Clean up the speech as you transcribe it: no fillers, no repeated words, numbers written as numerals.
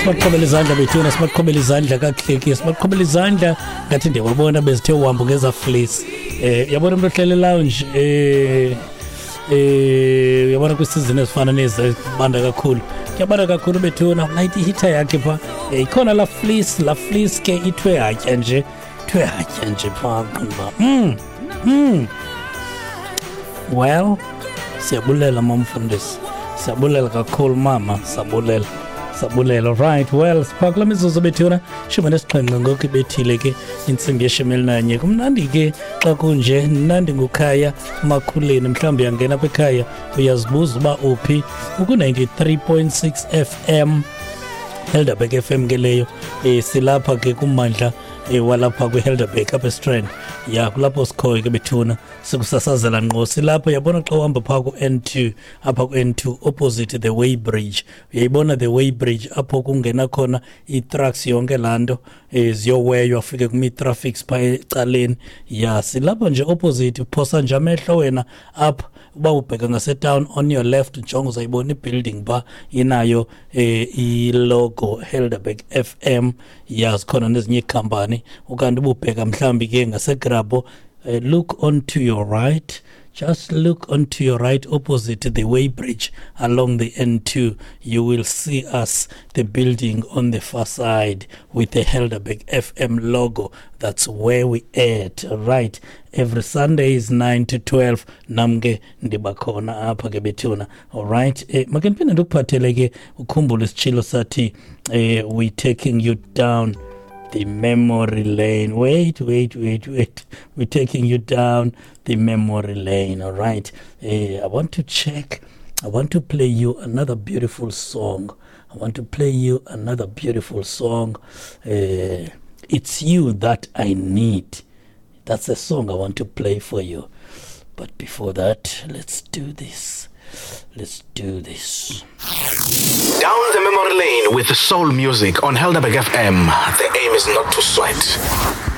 Sibaqhobela izandla bethuna, sibaqhobela izandla kakuhle ke, sibaqhobela izandla ngathi ndiyababona bezithe uhambo ngeza fleece. Yabona umuntu ohlele lounge, uyabona kwisizini ezifana nezi banda kakhulu, kuyabanda kakhulu bethuna, ulayita ihitha yakhe pha. Ikhona la fleece, la fleece ke ithwe hatya nje, ithwe hatya nje pha qumba. Well, siyabulela mamfundisi, siyabulela kakhulu mama, siyabulela, sabulela. Right, well, sipha kula mizuzu bethuna, 17 ngoku ibethile ke intsimbi ye-11. Kumnandi ke xa kunje, mnandi ngukhaya Makhuleni. Mhlawumbi uyangena apha ekhaya uyazibuza uba uphi, uku-93.6 FM Helderberg FM ke leyo. Silapha ke kummandla walapha kwiHelderberg apha eStrand. Ya, kulapho sikhoyo ke bethuna, sikusasazela ngqo silapho. Yabona xa uhamba phaa ku-N2, apha ku-N2 opposite the Way Bridge, uyayibona the Way Bridge apho kungena khona ii-trucks yonke laa nto, ziyoweywa fike kumi-traffics phaa ecaleni. Ya, silapho nje opposite, phosa nje amehlo wena apha uba ubheka ngasetown on your left, njongo uzayibona ibuilding phaa inayo ilogo Helderberg FM. Ya, zikhona nezinye iikhampani. Ukanti ububheka mhlawumbi ke ngaseGrabho, look onto your right, just look onto your right opposite the Way Bridge along the N2. You will see us, the building on the far side with the Helderberg FM logo. That's where we at. Right. Every Sunday is 9 to 12. Namke ndibakhona apha ke bethuna. All right. Make ndiphinde ndikuphathele ke, ukhumbule isitshilo sathi, we taking you down the memory lane. Wait, wait, wait, wait. We're taking you down the memory lane. All right. I want to check. I want to play you another beautiful song. I want to play you another beautiful song. It's You That I Need. That's a song I want to play for you. But before that, let's do this. Let's do this. Down the memory lane with soul music on Helderberg FM. The aim is not to sweat.